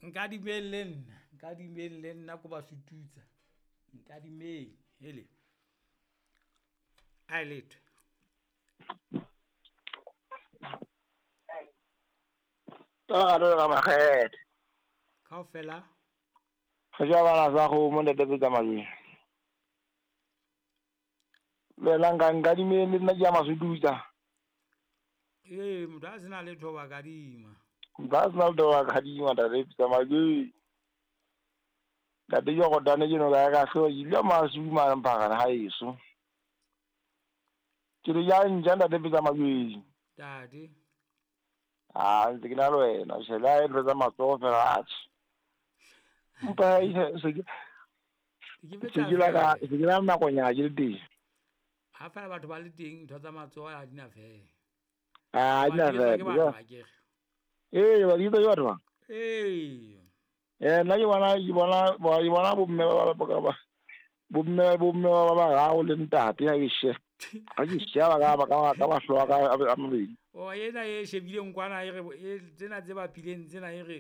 Nkadimeng le nna, nkadimeng le nna ko ba sututsa. Nkadimeng, hele. A e letho. Ka makgethe. Kaofela. Re ja bana sa kgomo ntate Petsa Majweng. Le wena nka nkadimeng le nna ke ya masututsa. Ee, motho a sena letho wa kadima. Motho a sena letho wa kadima ntate Petsa Majweng. Ntate Jorodane ke no ka ya ka hloka ke dula Maseru mane Mphakane haeso. Ke re ja ntja ntate Petsa Majweng. Ntate. A ntse ke na le wena tjhe le ha e ntho tsa matsoho fela atjhe. Empa se ke Ke se ke la ka se ke la nakonyana ke le teng. Ha fela batho ba le teng ntho tsa matsoho ha di na fela. Ah, di na Ba di etswa fela. ke batho akere. Ee, ba di etswa ke batho ba. Ee. Eh, nna ke bona ke bona ke bona bomme ba ba ba bomme bomme ba bararo le ntate ha ke sheba. Ha ke sheba ka ba ka ka mahlo a ka a mabedi. O ena e shebileng kwana e re e tsena tse bapileng tsena e re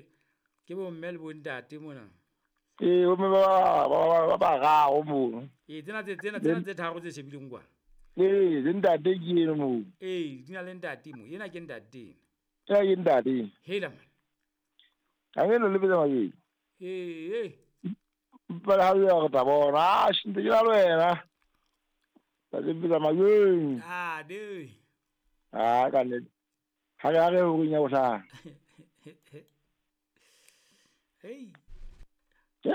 ke bomme le bontate mona. Ee, bomme ba ba ba bararo mono. Ee, tsena tse tsena tsena tse tharo tse shebileng kwana. Ee, le ntate ke eno moo. Ee, di na le ntate mo. Ena ke ntate ena. Ena ke ntate. Hela man. Ha ke no le Petsa Majweng. Ee. Empa le ha jwale re tla bona. Ah, ntse ke na le wena. Ntate Petsa Majweng. Ntate. Ah, ka nnete. Ha re ha re horeng ya bohlano. Hey.